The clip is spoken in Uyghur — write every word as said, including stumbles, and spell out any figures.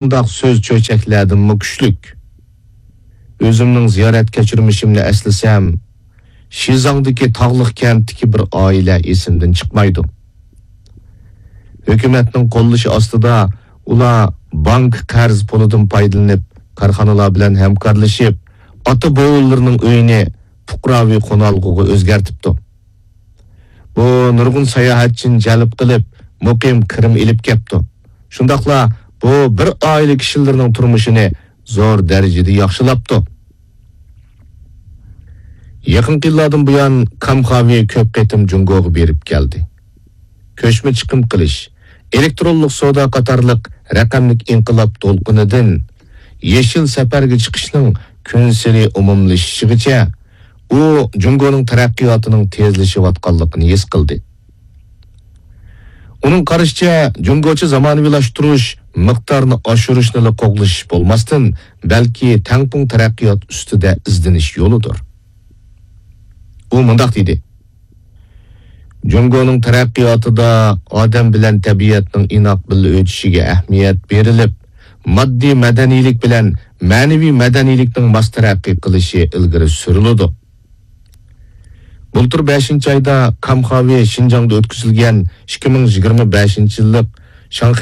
بۇنداق سۆز چۆچەكلەردىنمۇ كۈچلۈك. ئۆزۈمنىڭ زىيارەت كەچۈرمىشىمنى ئەسلىسەم، شىزاڭدىكى تاغلىق كەنتتىكى بىر ئائىلە ئېسىمدىن چىقمايدۇ. ھۆكۈمەتنىڭ قوللىشى ئاستىدا ئۇلار بانكا قەرز پۇلىدىن پايدىلىنىپ، كارخانىلار بىلەن ھەمكارلىشىپ، ئاتا-بوۋىلىرىنىڭ ئۆيىنى پۇقراۋى قونالغۇغا ئۆزگەرتىپتۇ. بۇ نۇرغۇن ساياھەتچىنى جەلپ قىلىپ، مۇقىم كىرىم ئېلىپ كەپتۇ. شۇنداقلا بۇ بىر ئائىلە كىشىلىرىنىڭ تۇرمۇشىنى زور دەرىجىدە ياخشىلاپتۇ. يېقىنقى يىللاردىن بۇيان، كام خاۋى كۆپ قېتىم جۇڭگوغا بېرىپ كەلدى. كۆچمە چىقىم قىلىش، ئېلېكترونلۇق سودا قاتارلىق رەقەملىك ئىنقىلاب دولقۇنىدىن يېشىل سەپەرگە چىقىشنىڭ كۈنسېرى ئومۇملىشىشىغىچە، ئۇ جۇڭگونىڭ تەرەققىياتىنىڭ تېزلىشىۋاتقانلىقىنى ھېس قىلدى. ئۇنىڭ قارىشىچە، جۇڭگوچە زامانىۋىلاشتۇرۇش مىقدارنى ئاشۇرۇشنىلا قوغلىشىش بولماستىن، بەلكى تەڭپۇڭ تەرەققىيات ئۈستىدە ئىزدىنىش يولىدۇر. ئۇ مۇنداق دېدى: جۇڭگونىڭ تەرەققىياتىدا ئادەم بىلەن تەبىئەتنىڭ ئىناق بىللە ئۆتۈشىگە ئەھمىيەت بېرىلىپ، ماددىي مەدەنىيلىك بىلەن مەنىۋى مەدەنىيلىكنىڭ ماس تەرەققىي قىلىشى ئىلگىرى سۈرۈلىدۇ. بۇلتۇر بەشىنچى ئايدا كام خاۋى شىنجاڭدا ئۆتكۈزۈلگەن ئىككى مىڭ يىگىرمە بەشىنچى يىللىق شاڭخەي